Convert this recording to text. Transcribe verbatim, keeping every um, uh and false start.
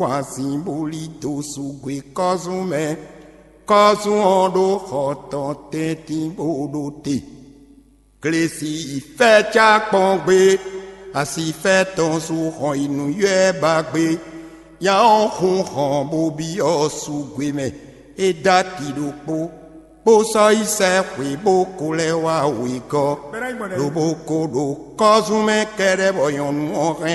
kpɔn asin bó lí dó su gwe kɔ́zún mɛ. Kɔ́zún ɔ́ ɖó xɔ tɔn tɛ́ntin bó ɖó te. Glesi yi fɛ́ cá kpɔ́n gbé, asifɛ́ tɔn sú hɔn yi nǔywɛ́ ba gbé. Nya ɔ́ hun hɔn bó byɔ́ sú gwe mɛ. É dó ati ɖokpó, bó sɔ́ yi sɛ́ xwě bó ko lɛ́ wá wegɔ́, lobo ko ɖo kɔ́zún mɛ kɛ́ɖɛ́ bɔ nyɔ̌nu ɔ́ hɛn